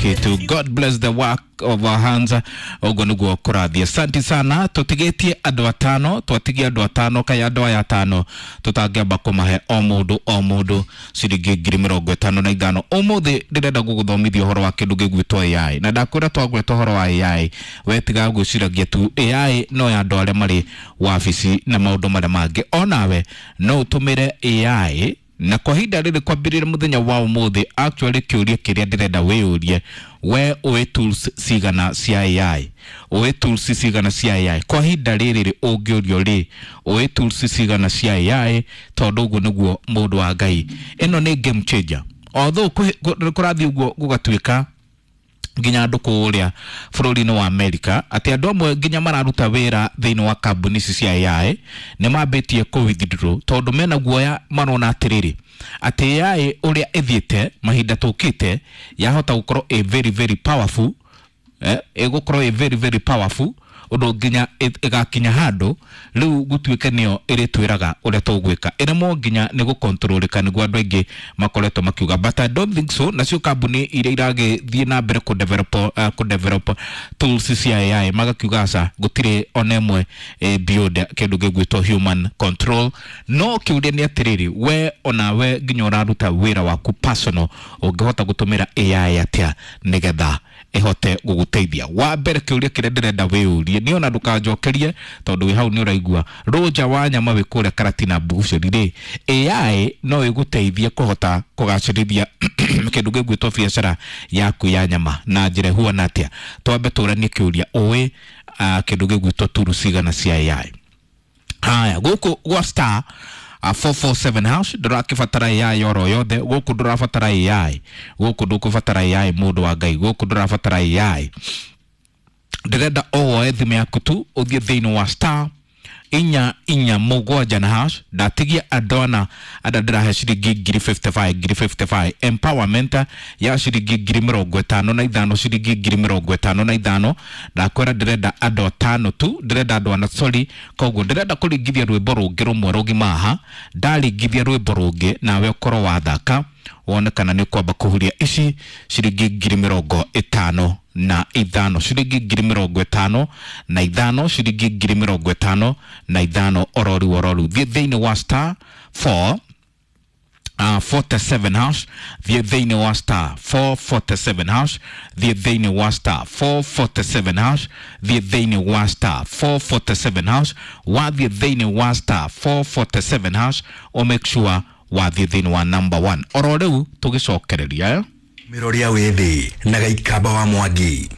Kitu. God bless the work of our hands. Ũguo nĩguo kũrathiĩ. Asante sana. Tũtigĩtie andũ atano, twatigia andũ atano, kai andũ aya atano tũtangĩamba kũmahe o mũndũ o mũndũ ciringi 55,000. Ũmũthĩ ndĩrenda gũgũthomithia ũhoro wa kĩndũ gĩgwĩtwo AI, na ndakwĩra twagweta ũhoro wa AI, we tiga gwĩciragia tu AI no ya andũ arĩa marĩ wabici na maũndũ marĩa mangĩ. Onawe no ũtũmĩre AI, na kwa ihinda rĩrĩ kwambĩrĩria mũthenya wa ũmũthĩ, actually kĩũria kĩrĩa ndĩrenda wĩyũrie, we ũĩ tools cigana cia AI? Ũĩ tools cigana cia AI? Kwa ihinda rĩrĩ rĩ, ũngĩũrio rĩ, ũĩ tools cigana cia AI? Tondũ ũguo nĩguo, mũndũ wa Ngai, ĩno nĩ game changer. Although kũrathiĩ ũguo gũgatuĩka nginya andũ kũrĩa bũrũri-inĩ wa Amerika atĩ andũ amwe nginya mararuta wĩra thĩinĩ wa kambuni ici cia AI nĩ mambĩtie kũ withdraw, tondũ mena guoya, marona atĩrĩrĩ, atĩ AI ũrĩa ĩthiĩte mahinda tũkĩte yahota gũkorwo ĩ very very powerful, ĩgũkorwo ĩ very very powerful ũndũ nginya ĩgakinya handũ rĩu gũtuĩke nĩyo ĩrĩtwĩraga ũrĩa tũgwĩka, ĩremwo nginya nĩ gũkontrolĩka. Nĩguo andũ aingĩ makoretwo makiuga, but I don't think so. Nacio kambuni iria iragĩthiĩ na mbere kũ develop tools cia AI magakiuga aca, gũtirĩ ona ĩmwe beyond kĩndũ gĩgwĩtwo human control. No kĩũria nĩ atĩrĩrĩ, we onawe nginya ũraruta wĩra waku personal, ũngĩhota gũtũmĩra AI atĩa nĩgetha ĩhote gũgũteithia? Wa mbere, kĩũria kĩrĩa ndĩrenda wĩyũrie nĩ ona ndũkanjokerie, tondũ wĩ hau nĩ ũraigua rũnja wa nyama wĩ kũrĩa Karatina Bouchery rĩ, AI no ĩgũteithie kũhota kũgacĩrithia kĩndũ gĩgwĩtwo biacara yaku ya nyama na njĩra ĩhuana atĩa? Twambe tũranie kĩũria, ũĩ kĩndũ gĩgwĩtwo tools cigana cia AI? Haya, gũkũ gwa star 447 hash ndũrakĩbatara AI oro yothe. Gũkũ ndũrabatara AI, gũkũ ndũkũbatara AI, mũndũ wa Ngai, gũkũ ndũrabatara AI. Ndĩrenda o woe thimũ yaku tu, ũthiĩ thĩinĩ wa star 447 na hash. Ndatigia andũ ana andĩa ndĩrahe ciringi 55,000, 55,000 empowerment ya ciringi 55,000, ciringi 55,000. Ndakwĩra ndĩrenda andũ atano tu, ndĩrenda andũ ana, sorry. Koguo ndĩrenda kũringithia rwĩmbo rũngĩ rũmwe rũgima haha. Ndaringithia rwĩmbo rũngĩ, nawe ũkorwo wathaka, wone kana nĩ ũkwamba kũhuria ici ciringi 55,000, ciringi 55,000, ciringi 55,000 ororu ororu. Thiĩ thĩinĩ wa star 4 47 hash, thiĩ thĩinĩ wa star 447 hash, thiĩ thĩinĩ wa star 447 hash, thiĩ thĩinĩ wa star 447 hash. Wathiĩ thĩinĩ wa star 447 hash, o make sure wathiĩ thĩinĩ wa number 1 oro rĩu tũgĩcokereria, eh? Mĩroria wĩthĩ na Gaikamba wa Mwangi.